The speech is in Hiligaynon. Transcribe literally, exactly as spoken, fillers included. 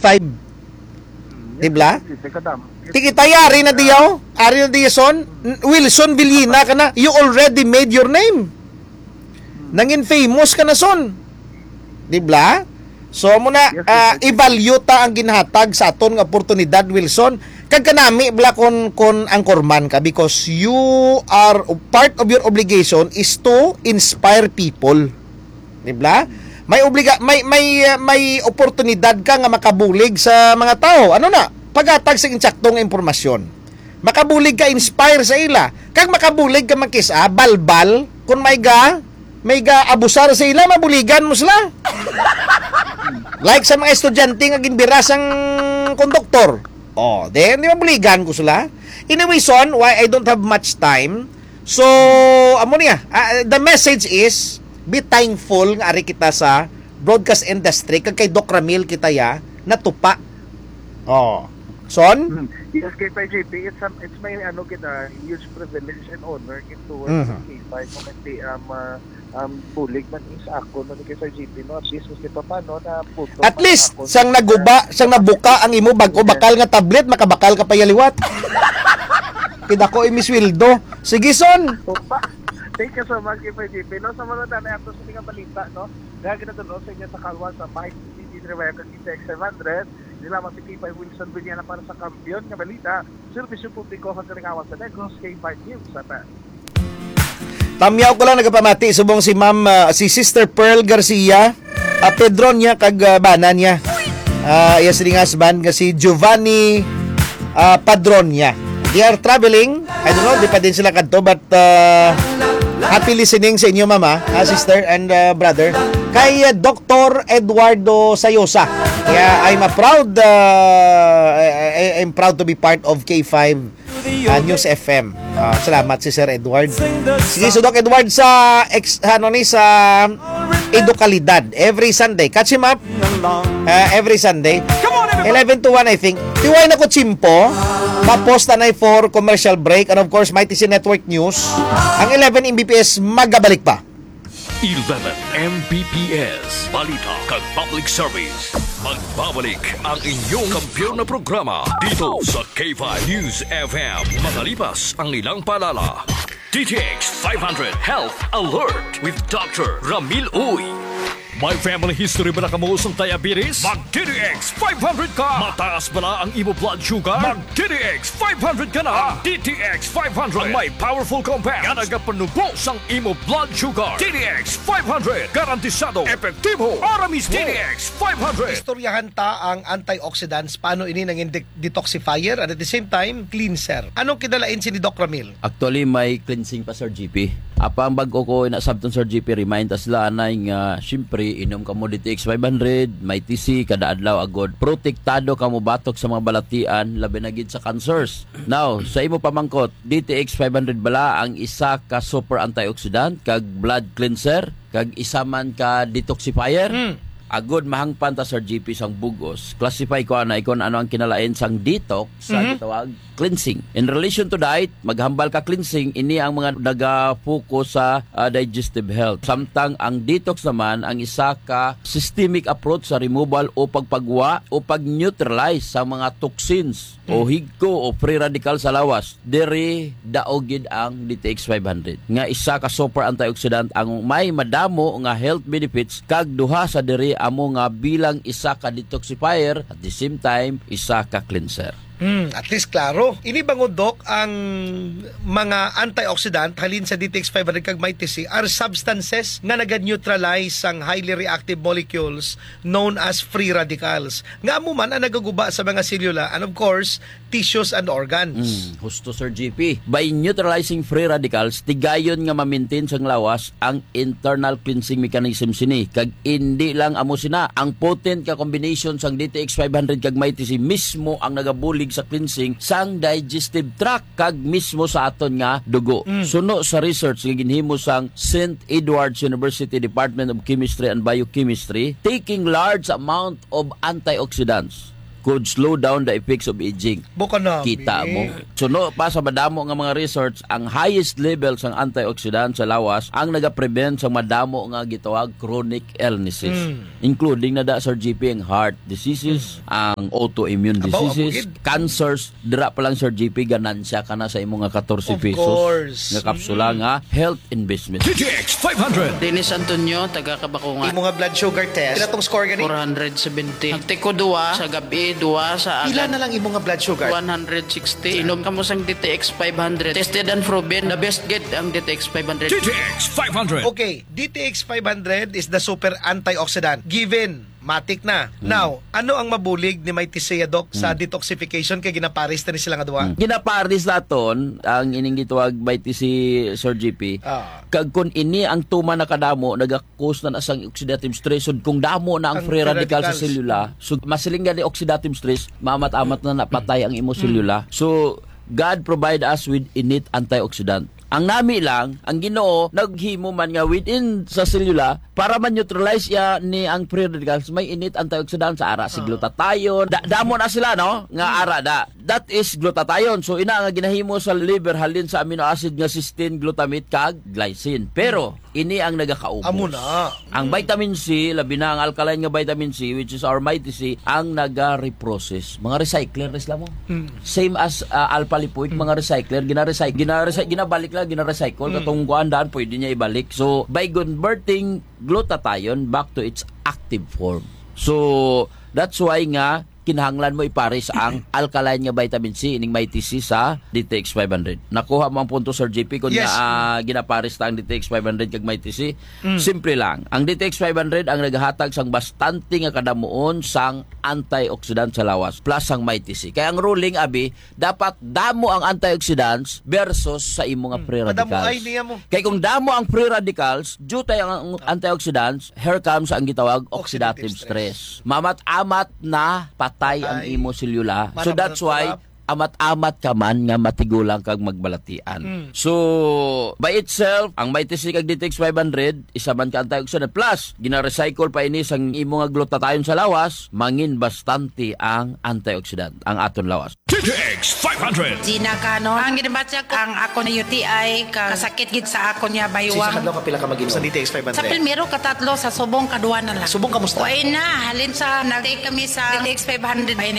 five. Di bla? Tikita, ari na diyaw. Ari na diya, son. Wilson Villina ka na. You already made your name. Nangin famous ka na, son. Di bla? So, amo na, ah, i-value ta ang ginhatag sa aton nga oportunidad, Wilson. Kag kanami, bla, kon, kon anchorman ka, because you are, part of your obligation is to inspire people. Di bla? May obliga-, may, may, ah, may oportunidad ka nga makabulig sa mga tawo. Ano na? Paghatag sa insaktong impormasyon. Makabulig ka, inspire sa ila. Kag makabulig ka, makis-a, balbal, kung may ga, may ga abusar sa ila, mabuligan mo sila. Like sa mga estudyante nga ginbira sang konduktor. Oh, then, di mabuligan ko sila. Anyway, son, why I don't have much time. So, amo niya. Ah, the message is, be thankful nga ari kita sa broadcast industry, kag kay Doc Ramil kita ya natupa. Oh. Son? Hmm. Yes, K five J P, it's, um, it's my, ano, kita, huge privilege and honor gid to work Mhm. with K five, no, kasi, um, uh, um, bulig man is ako, no, ni K five J P, no, at least, kasi pa paano na puto At man least, ako sang sa naguba, sang nabuka ang imo bag-o Yeah. bakal nga tablet, makabakal ka pa ya liwat. Pidako imi sweldo. Sige, son. Opa. Thank you so much, K five J P. No, sa mga tanay ato sa mga balita, no? Kaya ginatulong sa inyo sa Kalwa, sa Mike, C C T V, kag D T X seven hundred. Hindi lamang si K five Wilson Villana para sa Kampiyon nga Balita, Serbisyo Publiko kag Kalingawan sa Negros, K five News F M. Tamyaw ko lang nagapamati subong si Ma'am, ah, si Sister Pearl Garcia, ah, Pedronia kag, ah, bana niya. Ah, iya sining husband nga si Giovanni, ah, Padronia. They are traveling. I don't know, di pa din sila kadto, but, ah, happy listening sa inyo, mama, ah, sister, and, ah, brother. Kay, ah, Doctor Eduardo Sayosa. Yeah, I'm a proud, ah, I, I, I'm proud to be part of K five, ah, News F M. Ah, salamat si Sir Edward. Sige, so Doc Edward sa ex-, ano ni, sa Edukalidad every Sunday. Catch him up, ah, every Sunday. Eleven to one, I think. Tiway na ko tsimpo. Tapos tanay for commercial break. And of course, Mighty C Network News. Ang eleven M B P S magabalik pa. Eleven M B P S, balita kag public service. Magbabalik ang inyong kampiyon na programa dito sa K five News F M. Makalipas ang ilang paalala. D T X five hundred Health Alert with Doctor Ramil Uy. May family history bala kamo sang diabetes? Mag D T X five hundred ka! Mataas bala ang imo blood sugar? Mag D T X five hundred ka na! Ang D T X five hundred ang may powerful compound nga nagapanubo sang imo blood sugar. D T X five hundred, garantisado, epektibo, para mismo. D T X five hundred. Istoryahan ta ang antioxidants, paano ini nangin de-, detoxifier, and at the same time, cleanser. Anong kinalain sini, Doc Ramil? Actually, may cleansing pa, Sir G P. Apang bag-o ko ina sabton, Sir G P, remind ta sila anay nga, siyempre, inom kamo D T X five hundred, may T C, kada adlaw agod. Protektado kamo batok sa mga balatian, labi na gid sa cancers. Now, sa imo pamangkot, D T X five hundred bala ang isa ka super antioxidant kag blood cleanser, kag isa man ka detoxifier? Hmm. Agod mahangpan ta, Sir G P, sang bug-os, classify ko anay kung ano ang kinalain sang detox sa Mhm. gitawag cleansing. In relation to diet, maghambal ka cleansing, ini ang mga naga-focus sa, ah, digestive health. Samtang ang detox naman ang isa ka systemic approach sa removal o pagpagwa o pag-neutralize sa mga toxins o Mm. higko o free radical sa lawas. Diri daog gid ang D T X five hundred, nga isa ka super antioxidant ang may madamo nga health benefits, kag duha sa diri amo nga bilang isa ka detoxifier, at the same time, isa ka cleanser. Hmm, at least klaro. Ini bangod, Doc, ang mga antioxidant halin sa D T X five hundred kag Mighty C are substances nga naga-neutralize sang highly reactive molecules known as free radicals, nga amo man ang nagaguba sa mga selula and, of course, tissues and organs. Mm, husto, Sir G P. By neutralizing free radicals, tigayon nga ma-maintain sang lawas ang internal cleansing mechanism sini, kag indi lang amo sina, ang potent nga combination sang D T X five hundred kag Mighty C mismo ang nagabulig sa cleansing sang digestive tract kag mismo sa aton nga dugo. Mm. Suno sa research nga ginhimo sang Saint Edward's University Department of Chemistry and Biochemistry, taking large amount of antioxidants could slow down the effects of aging. Buka na, Kita eh. mo. Suno pa sa madamo nga mga research, ang highest level sang antioxidant sa lawas ang nagaprevent sa madamo nga gitawag chronic illnesses, Mm. including na da, Sir G P, ang heart diseases, ang autoimmune Abaw, diseases, abugid. cancers. Dira pa lang, Sir G P, ganansya ka na sa imo nga katorse Of pesos course. nga kapsula Mm. nga health investment. D T X five hundred. Dennis Antonio, taga Kabakungan. Imo nga blood sugar test, pila tong score gani? Four hundred seventy. Nagtiko duwa sa gabi, duwa sa Pila agad. na lang imo nga blood sugar? One hundred sixty. Inom kamo sang D T X five hundred. Tested and proven, the best gid ang D T X five hundred. D T X five hundred. Okay, D T X five hundred is the super antioxidant. Given, matik na. Hmm. Now, ano ang mabulig ni Mighty C, Doc, sa Hmm. detoxification kay ginapares na ni sila nga duha? Hmm. Ginapares naton ang ining gitawag Mighty C, Sir G P. Ah. Kag kung ini ang tuman na kadamo, nagakos na na sang oxidative stress. So, kung damo na ang Ang free free radical sa radicals. selula, so, masiling gani oxidative stress, maamat-amat na napatay ang imo Mm. selula. So, God provide us with innate antioxidant. Ang nami lang, ang Ginoo naghimo man nga within sa selula para ma-neutralize iya ni ang free radicals, may innate antioxidant sa ara si Ah. glutathione. Da- damo na sila, no? Nga Hmm. ara da. That is glutathione. So, ina nga ginahimo sa liver halin sa amino acid nga cysteine, glutamate, kag glycine. Pero, ini ang nagakaubos. Amo na. Ang Mm. vitamin C, labi na ang alkaline nga vitamin C, which is our Mighty C, ang naga-reprocess. Mga recycler na sila mo. Mm. Same as, uh, alpha lipoic, Mm. mga recycler, gina-recycle, gina-recy-, ginabalik lang, gina-recycle. Mm. Katong kuan daan, pwede niya ibalik. So, by converting glutathione back to its active form. So, that's why nga kinahanglan mo ipares ang alkaline nga vitamin C, ining Mighty C sa D T X five hundred. Nakuha mo ang punto, Sir G P, kung Yes. na, ah, ginapares ta ang D T X five hundred kag Mighty C. Mm. Simple lang. Ang D T X five hundred ang naghatag sang bastante nga kadamuon sang antioxidant sa lawas plus sang Mighty C. Kaya ang ruling, abi, dapat damo ang antioxidants versus sa imo nga Mm. free Madamo radicals. ay niya mo. Kay kung damo ang free radicals, jutay ang, ang antioxidants, here comes ang gitawag oxidative Oxidative stress. stress. Mamat-amat na patay ang Patay. imo selula. So Marap that's na why sarap. amat-amat ka man nga matigulang kag magbalatian. Mm. So, by itself, ang Mighty C kag D T X five hundred, isa man ka antioxidant. Plus, gina-recycle pa ini sang imo nga glutathione sa lawas, mangin bastante ang antioxidant, ang aton lawas. D T X five hundred. Gina Canon. Ang ginabatyag ang ako na U T I, ka-, kasakit gid sa ako niya, Sa baywang. Sa adlaw, kapila ka mag-inom? Sa D T X five hundred. Sa primero, katatlo, sa subong, kadwa na lang. Subong, kamusta? Way na, halin sa nag-take kami sa D T X five hundred. Way